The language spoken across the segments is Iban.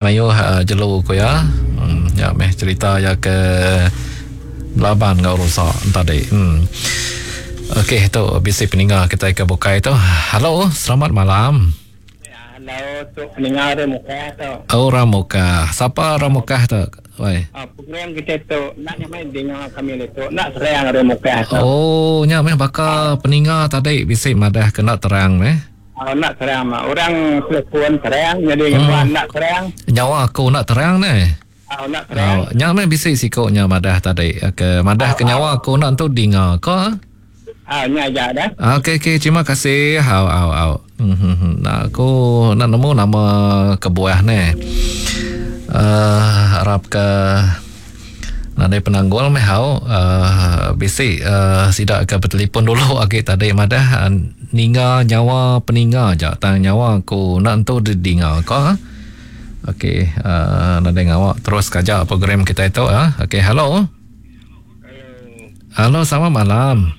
Mayuh jelu ku iya. Nya meh cherita iya ke belaban enggau rusa tadi. Okey tu bisi peninga kitai ke bukai tu. Hello, selamat malam. Hello, tu peninga ari Mukah tu. Oh, orang Mukah. Sapa orang Mukah tu? Wai. Program kita tu enda nyamai dinga kami ditu. Enda serang ari Mukah tu. Oh, nya meh baka peninga tadi bisi madah ke enda terang meh. Enda terang mah. Orang telefon terang nyadi ngembuan enda terang. Nyawa aku enda terang neh. Enda terang. Nya meh bisi siku nya madah tadi ke madah ke nyawa aku enda entu dinga ko. Nya aja dah. Okey okey terima kasih. Au au au. Nah aku enda nemu nama kebuah neh. Uhh arap ke Nadai penanggul meh au uhh bisi uhh sida ke betelipon dulu agi tadi madah ninga nyawa peninga aja tang nyawa aku enda entu didinga ko. Okey uhh nadai ngawa terus ke aja program kitai tu uhh. Okey hello. Hello selamat malam.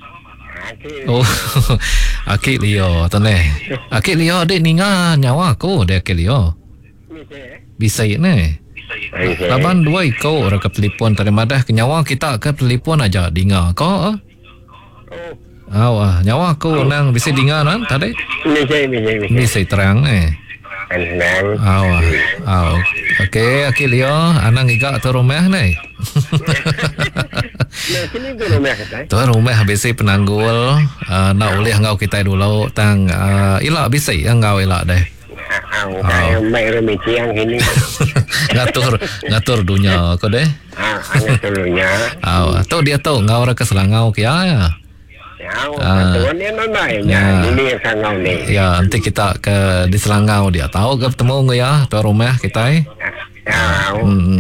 Oh aki Leo tu neh. Aki Leo dik ninga nyawa aku deh aki Leo. Bisi neh. Laban dua iko orang ke telefon tadi madah ke nyawa kita ke telefon aja dinga ko. Au ah nyawa aku nang bisi dinga nan tadi. Bisi bisi bisi. Bisi terang neh. Terang. Au ah. Au. Okey aki Leo anang ngiga tu rumah neh. Tu rumah bisi penanggul uh, enda ulih enggau kitai dulu tang uh, ila bisi enggau ila deh. Ngatur ngatur dunya ko deh. Ngatur dunya. Au tu dia tu enggau orang ke Selangau kia ya. Ya, enti kita ke di Selangau dia tau ke betemu enggau iya tuan rumah kitai. Hmm.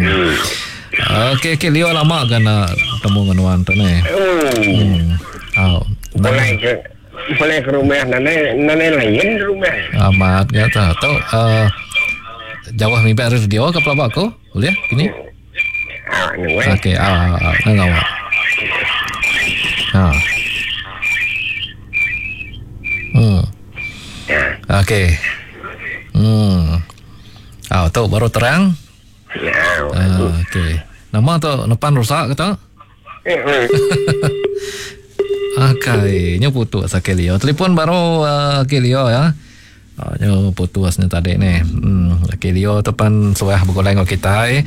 Okey okey liu lama ga nak betemu enggau nuan tu neh. Hmm. Au. Boleh ke Pulai ke rumah nadai nadai lain di rumah. Amat ga tu. Tu uh, jauh mimpi ari radio ke pelaba aku? Boleh kini? Ah, nu eh. Okey, ah, ah, ah, ngau. Ha. Hmm. Okey. Hmm. Ah, tu baru terang. Ya. Ah, okey. Nama tu nepan rusak ke tu? Akai, nyu putus Aki Leo. Telefon baru uh, Aki Leo ya. Uh, nyu putus ni tadi ni. Hmm, Aki Leo tu pan suah begulai enggau kitai.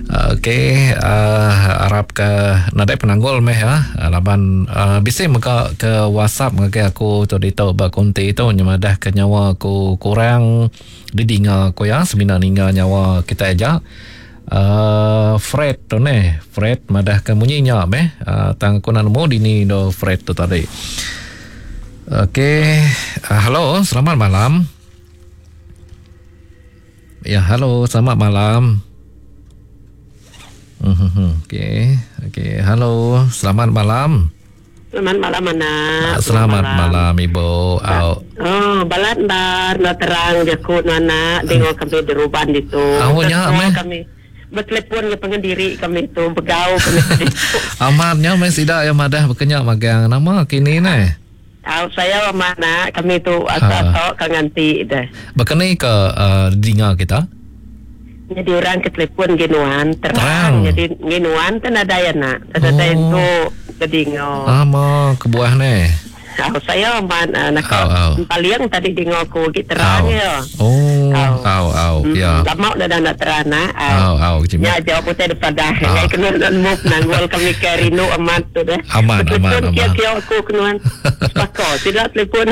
Uh, Okey, uh, arap ke nadai penanggul meh ya. Uh, laban uh, bisi mega ke WhatsApp ngagai aku tu ditu ba konti tu nyemadah ke nyawa aku kurang didinga aku ya, semina ninga nyawa kitai aja. Uhh Fred tu neh. Fred madah ke munyi nya meh. Uhh tang aku enda nemu dini endur Fred tu tadi. Okey, uhh hello, selamat malam. Ya, hello, selamat malam. Mhm. Okey. Okey, hello, selamat malam. Selamat malam anak. Selamat malam, malam ibu. Au. Oh, balat endar enda terang jaku nuan anak dengo kami di Ruban ditu. Au nya meh. Kami betelefon enggau pangan diri kami tu begau kami ditu. Amat nya meh sida iya madah baka nya magang nama kini neh. Au sayau amat anak kami tu asal tok ka nganti deh. Baka ni ka uh, dinga kita? Nyadi orang ke telefon ngi nuan terang nyadi ngi nuan te nadai anak te nadai oh. entu ke dingo. Ama kebuah ne. Au saya amat naka paling tadi dingo aku agi terang ya. Oh. Au au ya. Lama dah dah nak terang nak. Au au Nya jawab utai depadah ngai kena nemu penanggul kami ke rindu amat tu deh. Amat amat amat. Kia kia aku kenuan. Sepaka sida telefon.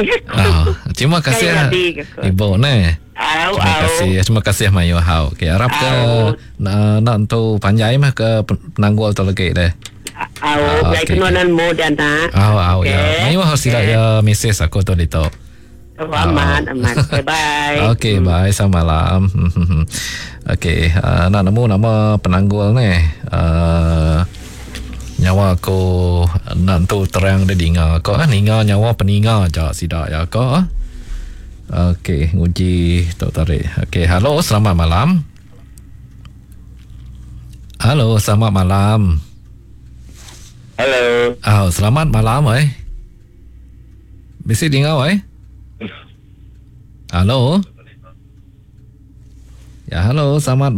Terima kasih. Ibu ne. Au, Terima au. kasih. Terima kasih mayuh hau. Okey, arap ke Au. na enda entu panjai meh ke penanggul tu lagi deh. Au, Ah, ngai okey, kena okey. nan mu dan nak. Au au ya. Okey. Mayuh hau sida Okey. ya mesej aku tu ditu. Oh, amat, amat. Okay, bye. Okey, bye. Selamat malam. Okey, uh, nak nemu nama penanggul ni. Uh, nyawa aku enda entu terang dia dinga ko ah ninga nyawa peninga aja sida ya ko ah. Okey, nguji tu tadi. Okey, halo, selamat malam. Halo, selamat malam. Halo. Oh, selamat malam eh. Bisi dingau eh? Halo. Ya, halo, selamat.